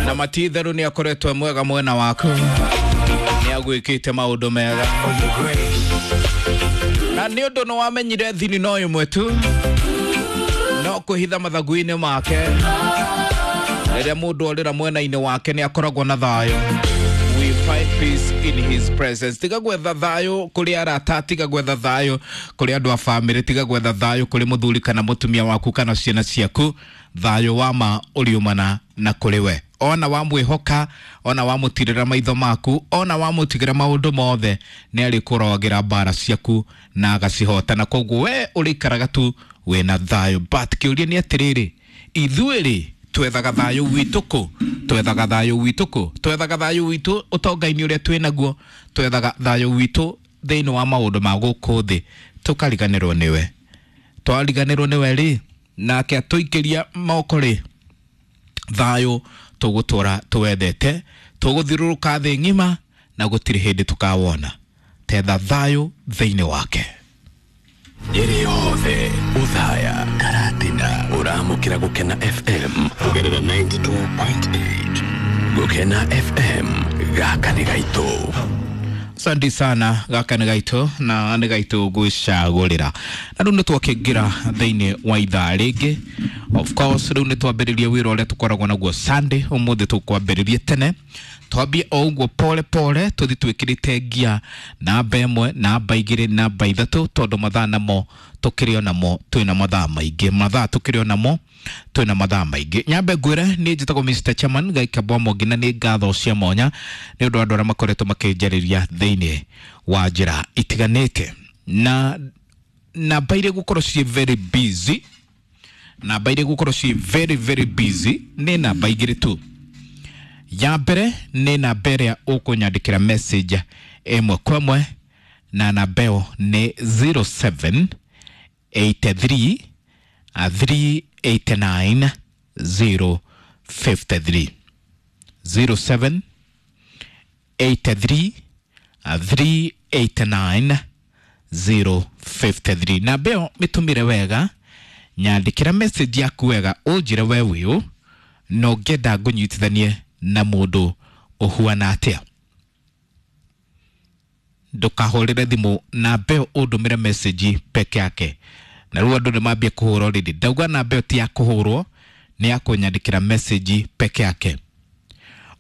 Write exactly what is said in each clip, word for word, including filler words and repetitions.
Na matitheru ni akoretwo mwega mwena waku, ni agwikite maundu mega, na ni undu no wamenyire thini no imwe tu no kwihitha mathagu-ini make. Riria mundu orira mwena-ini wake ni akoragwo na thayo. We find peace in his presence. Tiga gwetha thayo kuri arata, tiga gwetha thayo kuri andu a family, tiga gwetha thayo kuri muthuri kana mutumia waku kana ciana ciaku. Thayo wa ma uriumana na kuri we. Ona wamwihoka, ona wamutirira maitho maku, ona wamutigira maundu mothe, ni arikurawagira mbara ciaku na agacihota, na koguo we urikaraga tu wina thayo. But kiuria ni atiriri, ithuĩ twethaga thayo witũ kũ? Twethaga thayo witũ kũ? Twethaga thayo witũ ũtonga-inĩ ũrĩa twĩnaguo, twethaga thayo witũ thĩinĩ wa maũndũ ma gũkũ thĩ, tũkariganĩrwo nĩwe. Twariganĩrwo nĩwe rĩ, nake atũikĩria moko rĩ, thayo tũgũtũra tũwendete, tũgũthiũrũrũka thĩ ng'ima na gũtirĩ hĩndĩ tũkawona. Tetha thayo thĩinĩ wake. Nyeri yothe Uthaya Karatina uramukira Gukena F M kugerera ninety-two point eight. Gukena F M gaka ni gaitu. Asante sana, gaka ni gaitu na ni gaitu gwicagurira. Na riu nitwakingira thiini wa ithaa ringi. Of course riu nitwambiririe wira uria tukoragwo naguo Sunday, umuthi tukwambiririe tene. Twambie o uguo pole pole tuthi twikirite ngia namba ĩmwe, namba igĩrĩ, namba ithatũ, tondu mathaa namo tukĩrĩ onamo twĩna mathaa maingĩ, mathaa tukĩrĩ onamo twĩna mathaa maingĩ. Nyambe ngwĩre niĩ njĩtagwo Mister Chairman Gaika Bwamongi, na nĩ ngatho cia mwanya nĩ ũndũ wa andũ arĩa makoretwo makĩnjarĩria thĩinĩ wa njĩra itiganĩte, na namba iria gũkorwo ciĩ very busy, namba iria gũkorwo ciĩ very very busy nĩ namba igĩrĩ tu. Ya mbere nĩ namba ĩrĩa ũkũnyandĩkĩra message ĩmwe kwa ĩmwe, na namba ĩyo nĩ zero seven eight three three eight nine zero five three. zero seven eight three three eight nine zero five three. Namba ĩyo mĩtũmĩre wega, nyandĩkĩra message yaku wega, ũnjĩre we wĩũ na ũngĩenda ngũnyitithanie na mũndũ ũhuana atĩa. Ndũkahũrĩre thimũ, namba ĩyo ũndũmĩre message peke yake. Na rĩu andũ nĩmambia kũhũra already. Ndauga namba ĩyo ti ya kũhũrwo, nĩ ya kũnyandĩkĩra message peke yake.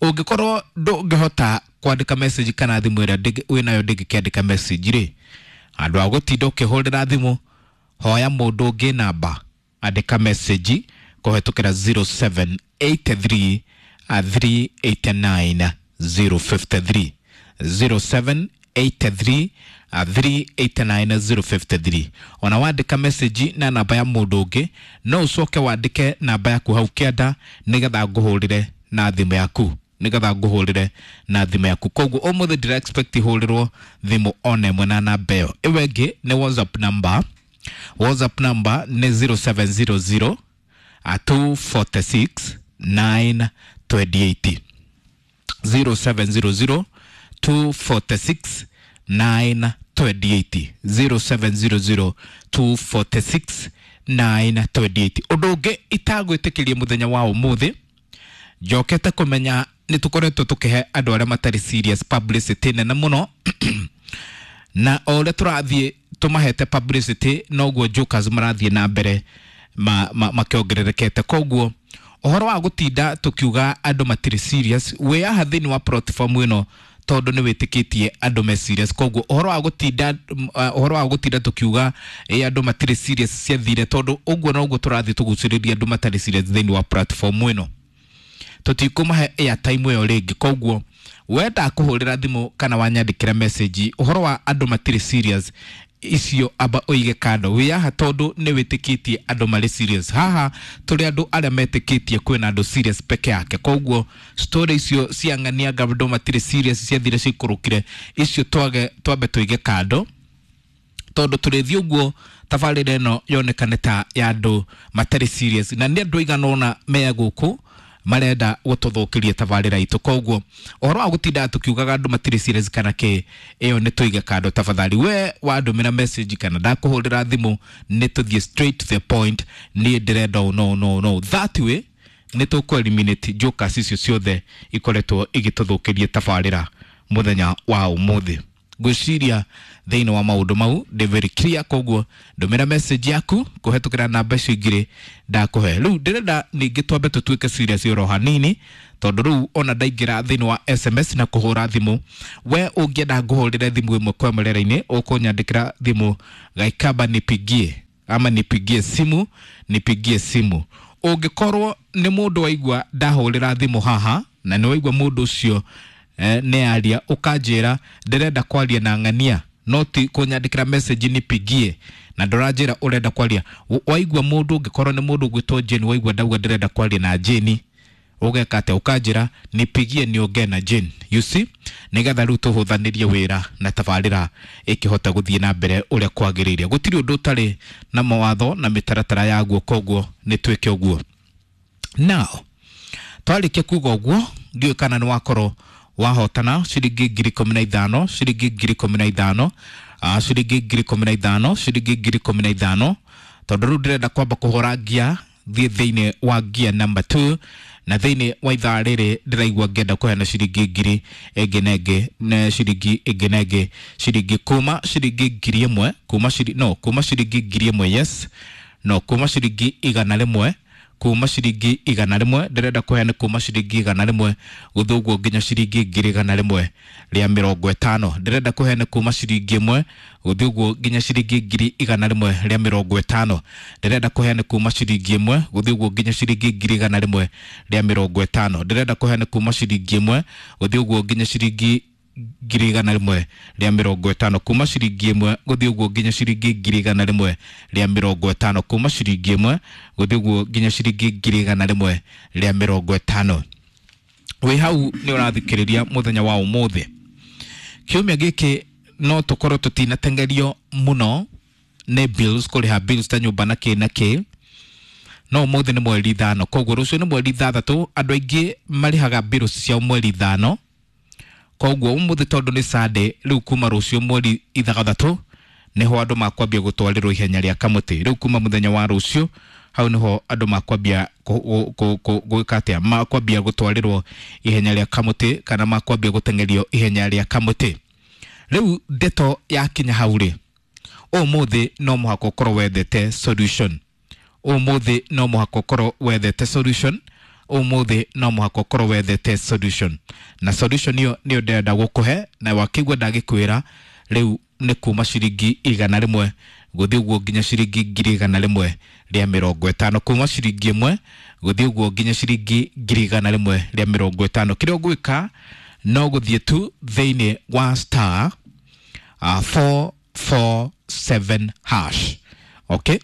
Ũngĩkorwo ndũngĩhota kwandĩka message kana thimũ ĩrĩa wĩnayo ndĩngĩkĩandĩka message rĩ, handũ ha gũtinda ũkĩhũrĩra thimũ, hoya mũndũ ũngĩ namba, andĩka message kũhetũkĩra zero seven eight three three eight nine zero five three. zero seven eight three three eight nine zero five three. Ona wandĩka message na namba ya mũndũ ũngĩ, no ũcoke wandĩke namba yaku hau kĩanda nĩgetha ngũhũrĩre na thimũ yaku, nĩgetha ngũhũrĩre na thimũ yaku. Koguo ũmũthĩ ndĩra expect hũrĩrwo thimũ ona ĩmwe na namba ĩyo. Ĩyo ĩngĩ nĩ WhatsApp number. WhatsApp number nĩ zero seven zero zero two four six nine twenty eight. zero seven zero zero two four six nine twenty eight. zero seven zero zero two four six nine twenty eight. Ũndũ ũngĩ itagwĩtĩkĩria mũthenya wa ũmũthĩ, njokete kũmenya nĩ tũkoretwo tũkĩhe andũ arĩa matarĩ serious publicity nene mũno, na o ũrĩa tũrathiĩ tũmahete publicity noguo jokers marathiĩ na mbere ma, ma, makĩongererekete. Koguo ũhoro wa gũtinda tũkiuga andũ matirĩ serious, wĩ haha thĩinĩ wa platform ĩno tondũ nĩ wĩtĩkĩtie andũ me serious. Koguo ũhoro wa gũtinda, ũhoro wa gũtinda tũkiuga ĩ andũ matirĩ serious ciathire, tondũ ũguo noguo tũrathiĩ tũgucĩrĩria andũ matarĩ serious thĩinĩ wa platform ĩno, tũtikũmahe airtime ĩyo rĩngĩ. Koguo wenda kũhũrĩra thimũ kana wanyandĩkĩra message ũhoro wa andũ matirĩ serious icio, amba ũige kando. Wĩ haha tondũ nĩ wĩtĩkĩtie andũ marĩ serious. Haha tũrĩ andũ arĩa metĩkĩtie kwĩna andũ serious peke yake. Koguo story icio cia ng'ania anga andũ matirĩ serious ciathire cikũrũkire, icio twage twambe tũige kando, tondũ tũrĩthiĩ ũguo tabarĩra ĩno yonekane ta ya andũ matarĩ serious, na nĩ andũ aigana ũna me gũkũ marenda gũtũthũkĩria tabarĩra itũ. Koguo ũhoro wa gũtinda tũkiugaga andũ matirĩ serious kana kĩ, ĩyo nĩ tũige kando tafadhali. We wandũmĩra message kana ndakũhũrĩra thimũ, nĩ tũthiĩ straight to the point. Niĩ ndĩrenda ũũ, no no no, that way Nĩ tũkũ eliminate jokers icio ciothe ikoretwo igĩtũthũkĩria tabarĩra mũthenya wa ũmũthĩ. Ngwĩciria thĩinĩ wa maũndũ mau ndĩ very clear, koguo ndũmĩra message yaku kũhetũkĩra namba icio igĩrĩ ndakũhe. Rĩu ndĩrenda ningĩ twambe tũtuĩke serious oro hanini, tondũ rĩu ona ndaingĩra thĩinĩ wa S M S na kũhũra thimũ, we ũngĩenda ngũhũrĩre thimũ ĩmwe kwa ĩmwe rĩera-inĩ, ũkũnyandĩkĩra thimũ Gaikamba nipigie ama nipigie simu, nipigie simu. Ũngĩkorwo nĩ mũndũ waigua ndahũrĩra thimũ haha na nĩ waigua mũndũ ũcio eh, nĩ aria, ũkanjĩra ndĩrenda kwaria na ng'ania, no ti kũnyandĩkĩra message nipigie na ndũranjĩra ũrenda kwaria. Waigua mũndũ, ũngĩkorwo nĩ mũndũ ũgwĩtwo Jane, waigua ndauga ndĩrenda kwaria na Jane, ũgeka atĩa? Ũkanjĩra nipigie niongee na Jane. You see, nĩgetha rĩu tũhũthanĩrie wĩra na tabarĩra ĩkĩhota gũthiĩ na mbere ũrĩa kwagĩrĩire. Gũtirĩ ũndũ ũtarĩ na mawatho na mĩtaratara yaguo, koguo nĩ twĩke ũguo. Now twarĩkia kuga ũguo, ndiũĩ kana nĩ wakorwo wahotana ciringi ngiri ikũmi na ithano, ciringi ngiri ikũmi na ithano, ah, ciringi ngiri ikũmi na ithano, ciringi ngiri ikũmi na ithano, tondũ rĩu ndĩrenda kwamba kũhũra ngia, thiĩ thĩinĩ wa ngia number two, na thĩinĩ wa ithaa rĩrĩ ndĩraigua ngĩenda kũheana ciringi ngiri ĩngĩ na ĩngĩ, na ciringi ĩngĩ na ĩngĩ, ciringi kuma ciringi ngiri ĩmwe, kuma ciri-, no, kuma ciringi ngiri ĩmwe, yes, no, kuma ciringi igana rĩmwe, kuma ciringi igana rĩmwe, ndĩrenda kũheana kuma ciringi igana rĩmwe gũthiĩ ũguo nginya ciringi ngiri igana rĩmwe rĩa mĩrongo ĩtano. Ndĩrenda kũheana kuma ciringi ĩmwe gũthiĩ ũguo nginya ciringi ngiri igana rĩmwe rĩa mĩrongo ĩtano. Ndĩrenda kũheana kuma ciringi ĩmwe gũthiĩ ũguo nginya ciringi ngiri igana rĩmwe rĩa mĩrongo ĩtano. Ndĩrenda kũheana kuma ciringi ĩmwe gũthiĩ ũguo nginya ciringi ngiri igana rĩmwe rĩa mĩrongo ĩtano. Kuma ciringi ĩmwe gũthiĩ ũguo nginya ciringi ngiri igana rĩmwe rĩa mĩrongo ĩtano. Kuma ciringi ĩmwe gũthiĩ ũguo nginya ciringi ngiri igana rĩmwe rĩa mĩrongo ĩtano. Wĩ hau nĩ ũrathikĩrĩria mũthenya wa ũmũthĩ. Kiumia gĩkĩ no tũkorwo tũtinatengerio mũno nĩ bills, kũrĩha bills ta nyũmba na kĩ na kĩ, no ũmũthĩ nĩ mweri ithano, koguo rũciũ nĩ mweri ithathatũ. Andũ aingĩ marĩhaga bills ciao mweri ithano, koguo ũmũthĩ tondũ nĩ Sunday, rĩu kuma rũciũ mweri ithathatũ nĩho andũ makwambia gũtwarĩrwo ihenya rĩa kamũtĩ. Rĩu kuma mũthenya wa rũciũ hau nĩho andũ makwambia gwĩka atĩa, makwambia gũtwarĩrwo ihenya rĩa kamũtĩ kana makwambia gũteng'erio ihenya rĩa kamũtĩ. Rĩu ndeto yakinya hau rĩ, ũmũthĩ no mũhaka ũkorwo wethete solution. Ũmũthĩ no mũhaka ũkorwo wethete solution. Ũmũthĩ no mũhaka ũkorwo wethete solution. Na solution ĩyo nĩyo ndĩrenda gũkũhe, na wakĩigua ndagĩkwĩra rĩu nĩ kuma ciringi igana rĩmwe gũthiĩ ũguo nginya ciringi ngiri igana rĩmwe rĩa mĩrongo ĩtano. Kuma ciringi ĩmwe gũthiĩ ũguo nginya ciringi ngiri igana rĩmwe rĩa mĩrongo ĩtano. Kĩrĩa ũgwĩka no gũthiĩ tu thĩinĩ wa star, uh, four four seven hash. Okay?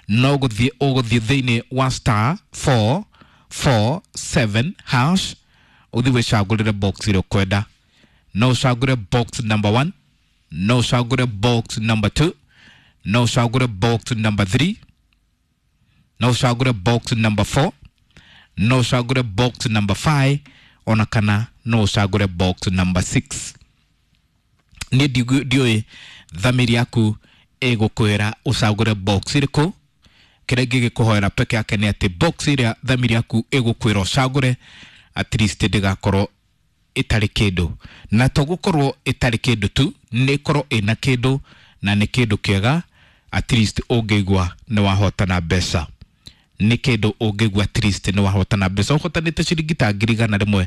No gũthiĩ, ũgũthiĩ thĩinĩ wa star four four seven hash, ũthiĩ wĩcagũrĩre box ĩrĩa ũkwenda. No ũcagũre box number one, no ũcagũre box number two, no ũcagũre box number three, no ũcagũre box number four, no ũcagũre box number five, ona kana no ũcagũre box number six. Niĩ ndiũĩ thamiri yaku ĩgũkwĩra ũcagũre box ĩrĩkũ. Kĩrĩa ngĩgĩkũhoera peke yake nĩ atĩ box ĩrĩa thamiri yaku ĩgũkwĩra ũcagũre at least ndĩgakorwo ĩtarĩ kĩndũ, na to gũkorwo ĩtarĩ kĩndũ tu, nĩ ĩkorwo ĩna kĩndũ na nĩ kĩndũ kĩega at least ũngĩigua nĩ wahotana mbeca. Nĩ kĩndũ ũngĩigua at least nĩ wahotana mbeca. Ũhotanĩte ciringi ta ngiri igana rĩmwe,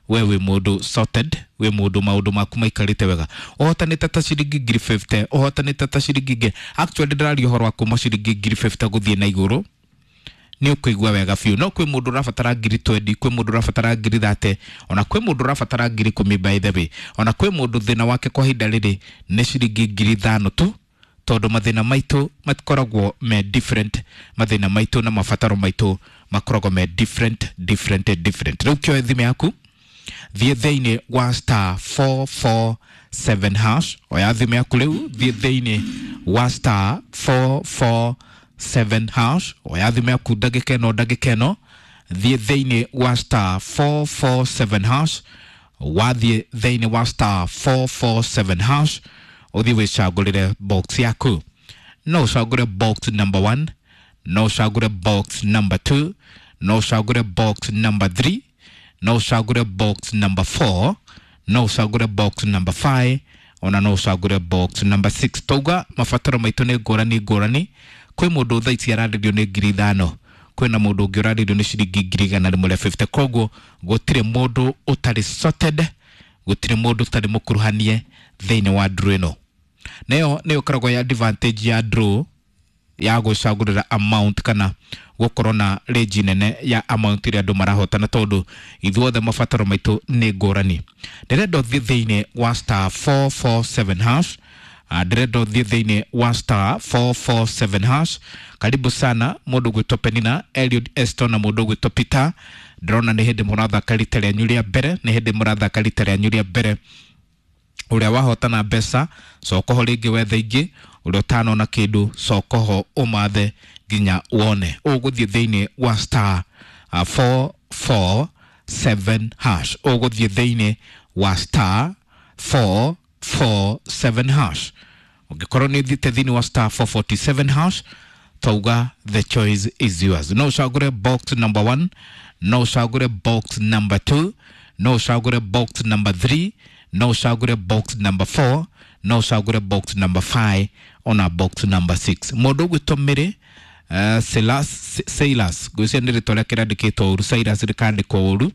we wĩ mũndũ sorted, wĩ mũndũ maũndũ maku maikarĩte wega. Ũhotanĩte ta ciringi ngiri fifty, ũhotanĩte ta ciringi ngiri, actually ndĩraria ũhoro wa kuma ciringi ngiri fifty gũthiĩ na igũrũ, nĩ ũkũigua wega biũ. No kwĩ mũndũ ũrabatara ngiri twenty, kwĩ mũndũ ũrabatara ngiri thirty, ona kwĩ mũndũ ũrabatara ngiri ikũmi by the way, ona kwĩ mũndũ thĩna wake kwa ihinda rĩrĩ nĩ ciringi ngiri ithano tu, tondũ mathĩna maitũ matikoragwo me different, mathĩna maitũ na mabataro maitũ makoragwo me different, different, different. Rĩu kĩoe thimũ yaku, thiĩ thĩinĩ wa star four four seven hash, oya thimũ yaku rĩu, thiĩ thĩinĩ wa star four four seven hash, oya thimũ yaku ndagĩka ĩno, ndagĩka ĩno, thiĩ thĩinĩ wa star four four seven hash, wathiĩ thĩinĩ wa star four four seven hash, ũthiĩ wĩcagũrĩre box yaku. No ũcagũre box number one, no ũcagũre box number two, no ũcagũre box number three, no ũcagũre box number four, no ũcagũre box number five, ona no ũcagũre box number six. Twauga mabataro maitũ nĩ ngũrani ngũrani. Kwĩ mũndũ thaa ici ararĩrio nĩ ngiri ithano, kwĩna mũndũ ũngĩ ũrarĩrio nĩ ciringi ngiri igana rĩmwe rĩa fifty. Koguo gũtirĩ mũndũ ũtarĩ sorted, gũtirĩ mũndũ ũtarĩ mũkuruhanie thĩinĩ wa draw ĩno. Nayo nĩyo ĩkoragwo ya advantage ya draw ya gwĩcagũrĩra amount kana gũkorwo na range nene ya amount ĩrĩa andũ marahotana, tondũ ithuothe mabataro maitũ nĩ ngũrani. Ndĩrenda ũthiĩ thĩinĩ wa star four four seven hash. Ndĩrenda ũthiĩ thĩinĩ wa star four four seven hash. Karibu sana mũndũ gwĩtwo Penina, Eliud Eston na mũndũ gwĩtwo Peter. Ndĩrona nĩ hĩndĩ mũrathaka rita rĩanyu rĩa mbere, nĩ hĩndĩ mũrathaka rita rĩanyu rĩa mbere. Ũrĩa wahotana mbeca cokoho rĩngĩ wethe ingĩ, ũrĩa ũtanona kĩndũ cokoho ũmathe nginya wone. Ũgũthiĩ thĩinĩ wa star four four seven hash, ũgũthiĩ thĩinĩ wa star four four seven hash. Ũngĩkorwo nĩ ũthiĩte thĩinĩ wa star four forty seven hash, twauga the choice is yours. No ũcagũre box number one, no ũcagũre box number two, no ũcagũre box number three, no ũcagũre box number four, no ũcagũre box number five, ona box number six. Mũndũ ũgwĩtwo Mary uh, Silas, Silas, ngwĩciria nĩ rĩtwa rĩake rĩandĩkĩtwo ũru, Silas rĩkandĩkwo ũru.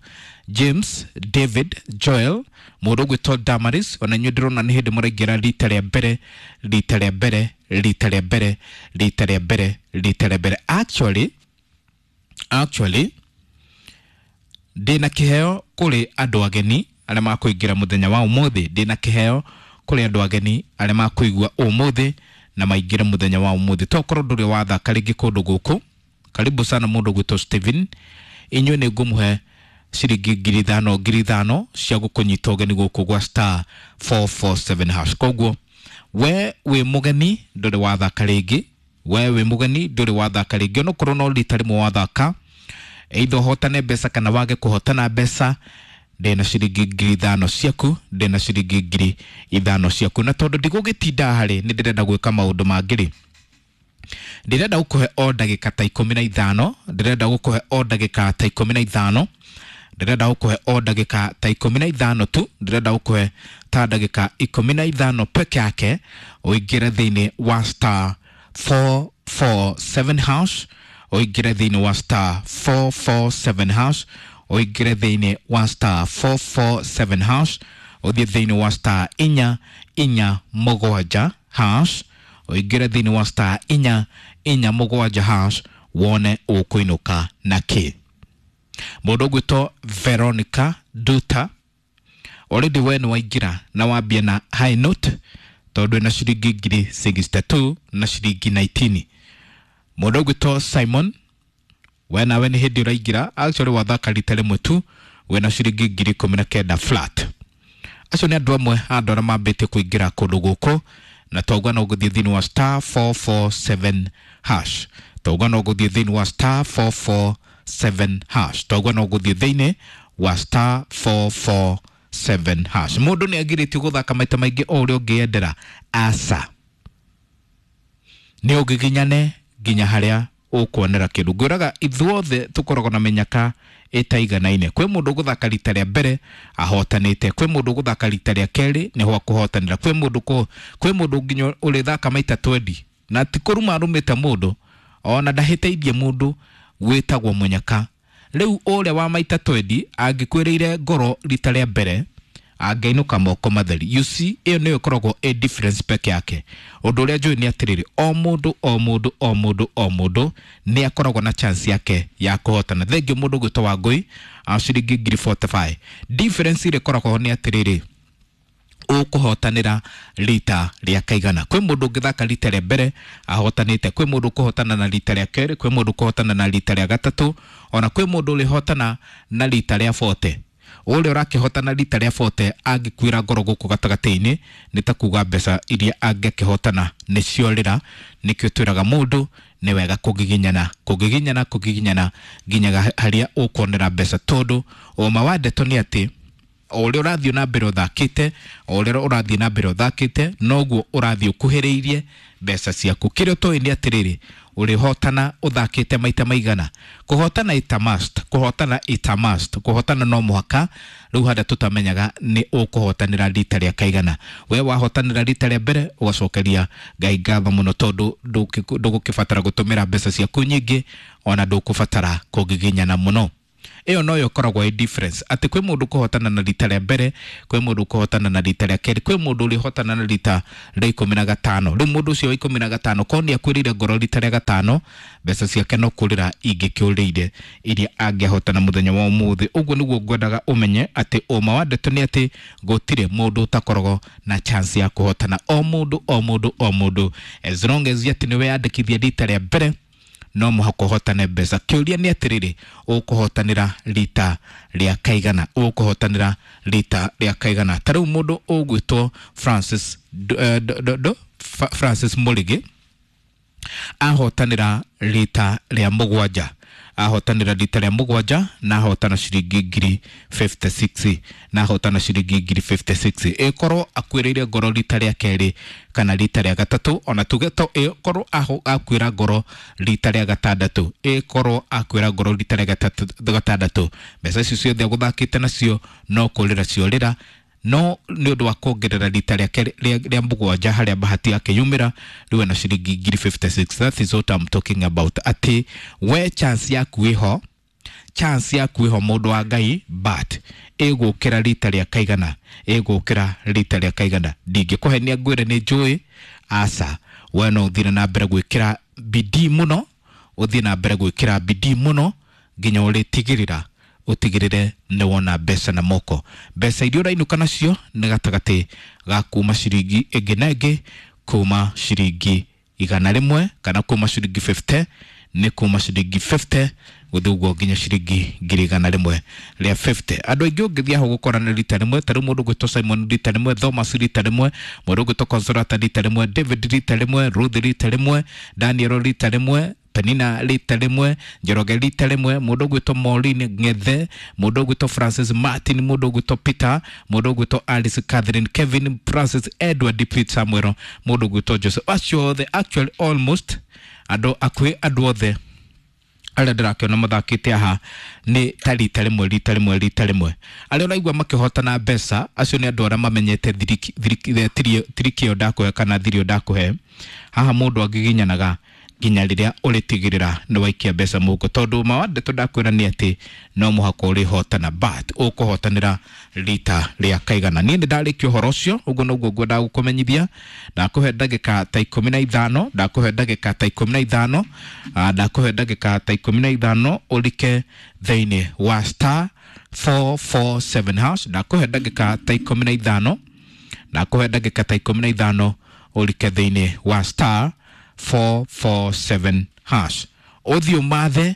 James, David, Joel, mũndũ ũgwĩtwo Damaris, ona inyuĩ ndĩrona nĩ hĩndĩ mũraingĩra rita rĩa mbere, rita rĩa mbere, rita rĩa mbere, rita rĩa mbere, rita rĩa mbere. Actually, actually, ndĩna kĩheo kũrĩ andũ ageni arĩa makũingĩra mũthenya wa ũmũthĩ. Ndĩna kĩheo kũrĩ andũ ageni arĩa makũigua ũmũthĩ na maingĩre mũthenya wa ũmũthĩ. Tokorwo ndũrĩ wathaka rĩngĩ kũndũ gũkũ, karibu sana mũndũ ũgwĩtwo Steven. Inyuĩ nĩ ngũmũhe ciringi ngiri ithano ngiri ithano cia gũkũnyita ũgeni gũkũ gwa star four four seven hash. Koguo we wĩ mũgeni ndũrĩ wathaka rĩngĩ, we wĩ mũgeni ndũrĩ wathaka rĩngĩ, onokorwo no rita rĩmwe wathaka, either ũhotane mbeca kana wage kũhotana mbeca, ndĩna ciringi ngiri ithano ciaku, ndĩna ciringi ngiri ithano ciaku. Na tondũ ndigũgĩtinda harĩ, nĩ ndĩrenda gwĩka maũndũ mangĩ rĩ, ndĩrenda gũkũhe o ndagĩka ta ikũmi na ithano, ndĩrenda gũkũhe o ndagĩka ta ikũmi na ithano, ndĩrenda gũkũhe o ndagĩka ta ikũmi na ithano tu, ndĩrenda gũkũhe ta ndagĩka ikũmi na ithano peke yake, ũingĩre thĩinĩ wa star four four seven hash, ũingĩre thĩinĩ wa star four four seven hash, ũingĩre thĩinĩ wa star four four seven hash, ũthiĩ thĩinĩ wa star inya inya mũgwanja hash, ũingĩre thĩinĩ wa star inya inya mũgwanja hash, wone ũkũinũka na kĩ. Mũndũ ũgwĩtwo Veronica Duta, already we nĩ waingĩra na wambia na high note, tondũ ĩna ciringi ngiri sixty two na ciringi nineteen. Mũndũ ũgwĩtwo Simon, we nawe nĩ hĩndĩ ũraingĩra, actually wathaka rita rĩmwe tu, wĩna ciringi ngiri ikũmi na kenda flat. Acio nĩ andũ amwe a andũ arĩa mambĩtie kũingĩra kũndũ gũkũ, na twauga no ũgũthiĩ thĩinĩ wa star four four seven hash, twauga no ũgũthiĩ thĩinĩ wa star four four seven hash, twauga no ũgũthiĩ thĩinĩ wa star four four seven hash. Mũndũ nĩ agirĩtio gũthaka maita maingĩ o ũrĩa ũngĩendera, aca, nĩ ũngĩginyane nginya harĩa ũkuonera kĩndũ. Ngwĩraga ithuothe tũkoragwo na mĩnyaka ĩtaiganaine. Kwĩ mũndũ ũgũthaka rita rĩa mbere ahotanĩte, kwĩ mũndũ ũgũthaka rita rĩa kerĩ nĩho akũhotanĩra, kwĩ mũndũ kũ, kwĩ mũndũ nginya ũrĩthaka maita twenty na ti kũruma arũmĩte mũndũ, ona ndahĩtĩirie mũndũ wĩtagwo mũnyaka. Rĩu ũrĩa wa maita twenty angĩkwĩrĩire ngoro rita rĩa mbere angĩinũka moko matheri. You see, ĩyo nĩyo ĩkoragwo ĩ difference peke yake. Ũndũ ũrĩa njũĩ nĩ atĩrĩrĩ, o mũndũ o mũndũ o mũndũ o mũndũ nĩ akoragwo na chance yake ya kũhotana. Thengiũ mũndũ ũgwĩtwo Wangũi, a ciringi ngiri forty five. Difference ĩrĩa ĩkoragwo ho nĩ atĩrĩrĩ, ũkũhotanĩra rita rĩa kaigana. Kwĩ mũndũ ũngĩthaka rita rĩa mbere ahotanĩte, kwĩ mũndũ ũkũhotana na rita rĩa kerĩ, kwĩ mũndũ ũkũhotana na rita rĩa gatatũ, ona kwĩ mũndũ ũrĩhotana na rita rĩa forty. Ũrĩa ũrakĩhotana rita rĩa forty angĩkuĩra ngoro gũkũ gatagatĩ-inĩ nĩ ta kuga mbeca iria angĩkĩhotana nĩciorĩra. Nĩkĩo twĩraga mũndũ nĩ wega kũgiginyana, kũgiginyana, kũgiginyana nginya harĩa ũkuonera mbeca, tondũ ũma wa ndeto nĩ atĩ o ũrĩa ũrathiĩ na mbere ũthakĩte, o ũrĩa ũrathiĩ na mbere ũthakĩte, noguo ũrathiĩ ũkuhĩrĩirie mbeca ciaku. Kĩrĩa ũtoĩ nĩ atĩrĩrĩ, Ũrĩhotana ũthakĩte maita maigana? Kũhotana ita must, kũhotana ita must, kũhotana no mũhaka. Rĩu harĩa tũtamenyaga nĩ ũkũhotanĩra rita rĩa kaigana. We wahotanĩra rita rĩa mbere, ũgacokeria Ngai ngatho mũno, tondũ ndũgũkĩbatara gũtũmĩra mbeca ciaku nyingĩ, ona ndũkũbatara kũgiginyana mũno. Ĩyo noyo ĩkoragwo ĩ difference, atĩ kwĩ mũndũ kũhotana na rita rĩa mbere, kwĩ mũndũ kũhotana na rita rĩa kerĩ, kwĩ mũndũ ũrĩhotana na rita rĩa ikũmi na gatano. Rĩu mũndũ ũcio wa ikũmi na gatano korwo nĩ akuĩrĩire ngoro rita rĩa gatano, mbeca ciake no kũrĩra ingĩkĩũrĩire iria angĩahotana mũthenya wa ũmũthĩ. Ũguo nĩguo ngwendaga ũmenye atĩ ũma wa ndeto nĩ atĩ gũtirĩ mũndũ ũtakoragwo na chance ya kũhotana. O mũndũ, o mũndũ, o mũndũ, as long as atĩ nĩ weyandĩkithia rita rĩa mbere, no mũhaka ũhotane mbeca. Kĩũria nĩ atĩrĩrĩ, ũkũhotanĩra rita rĩa kaigana? Ũkũhotanĩra rita rĩa kaigana? Ta rĩu mũndũ ũgwĩtwo Francis do, do, do, Francis Mũrĩgĩ ahotanĩra rita rĩa mũgwanja, ahotanĩra rita rĩa mũgwanja na ahotana ciringi ngiri fifty six, na ahotana ciringi ngiri fifty six. Ĩkorwo akuĩrĩire ngoro rita rĩa kerĩ kana rita rĩa gatatũ, ona tuge to ĩkorwo akuĩra ngoro rita rĩa gatandatũ, ĩkorwo akuĩra ngoro rita rĩa gatandatũ, mbeca icio ciothe agũthakĩte nacio no kũrĩra ciorĩra. No nĩ ũndũ wa kuongerera rita rĩa rĩa mũgwanja harĩa bahati yake yumĩra, rĩu ena ciringi ngiri fifty six. That is what I'm talking about, atĩ we chance yaku ĩho, chance yaku ĩho mũndũ wa Ngai, but ĩgũkĩra rita rĩa kaigana? Ĩgũkĩra rita rĩa kaigana? Ndingĩkũhenia ngwĩre nĩ njũĩ, aca. We no ũthire na mbere gwĩkĩra bidii mũno, ũthiĩ na mbere gwĩkĩra bidii mũno nginya ũrĩtigĩrĩra ũtigĩrĩre nĩ wona mbeca na moko. Mbeca iria ũrainũka nacio nĩ gatagatĩ ga kuma ciringi ĩngĩ na ĩngĩ, kuma ciringi igana rĩmwe kana kuma ciringi fifty, nĩ kuma ciringi fifty gũthiĩ ũguo nginya ciringi ngiri igana rĩmwe rĩa fifty. Andũ aingĩ ũngĩthiĩ hau gũkora nĩ rita rĩmwe. Ta rĩu mũndũ ũgwĩtwo Simon rita rĩmwe, Thomas rita rĩmwe, mũndũ ũgwĩtwo Consolata rita rĩmwe, David rita rĩmwe, Ruth rita rĩmwe, Daniel rita rĩmwe, Penina rita rĩmwe, Njoroge rita rĩmwe, mũndũ ũgwĩtwo Maureen Ng'ethe, mũndũ ũgwĩtwo Francis Martin, mũndũ ũgwĩtwo Peter, mũndũ ũgwĩtwo Alice Catherine, Kevin Francis, Edward Pete Samuel, mũndũ ũgwĩtwo Joseph. Acio othe actually almost andũ akuhĩ andũ othe arĩa ndĩrakĩona mathakĩte haha nĩ ta rita rĩmwe, rita rĩmwe, rita rĩmwe. Arĩa ũraigua makĩhotana mbeca acio nĩ andũ arĩa mamenyete tiriki ĩyo ndakũhe kana thiri ĩyo ndakũhe. Haha mũndũ angĩginyanaga nginya rĩrĩa ũrĩtigĩrĩra nĩ waikia mbeca mũhuko, tondũ ma wa ndeto ndakwĩra nĩ atĩ no mũhaka ũrĩhotana, but ũkũhotanĩra rita rĩa kaigana? Niĩ nĩ ndarĩkia ũhoro ũcio, ũguo noguo ngwendaga gũkũmenyithia. Ndakũhe ndagĩka ta ikũmi na ithano, ndakũhe ndagĩka ta ikũmi na ithano, ndakũhe ndagĩka ta ikũmi na ithano ũrike thĩinĩ wa star four four seven hash. Ndakũhe ndagĩka ta ikũmi na ithano, ndakũhe ndagĩka ta ikũmi na ithano ũrike thĩinĩ wa star four four seven hash. Ũthiĩ ũmathe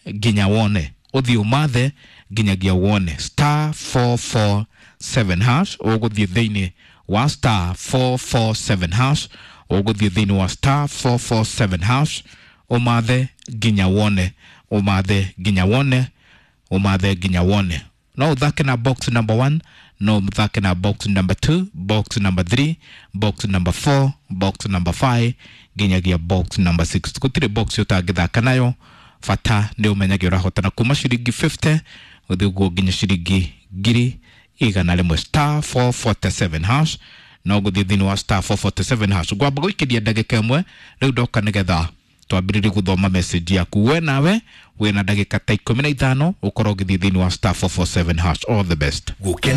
nginya wone, ũthiĩ ũmathe nginyagia wone star four four seven hash. Ũgũthiĩ thĩinĩ wa star four four seven hash, ũgũthiĩ thĩinĩ wa star four four seven hash, ũmathe nginya wone, ũmathe nginya wone, ũmathe nginya wone. No ũthake na box number one, no ũthake na box number two, box number three, box number four, box number five nginyagia box number six. Gũtirĩ box ũtangĩthaka nayo, bata nĩ ũmenyage ũrahotana kuma ciringi fifty gũthiĩ ũguo nginya ciringi ngiri igana rĩmwe. Star four forty seven hash, no gũthiĩ thĩinĩ wa star four forty seven hash. Ngwamba gũikĩria ndagĩka ĩmwe rĩu ndoka nĩgetha twambĩrĩrie gũthoma message yaku. We nawe wĩna ndagĩka ta ikũmi na ithano ũkorwo ũgĩthiĩ thĩinĩ wa star four four seven hash. All the best. Gũkena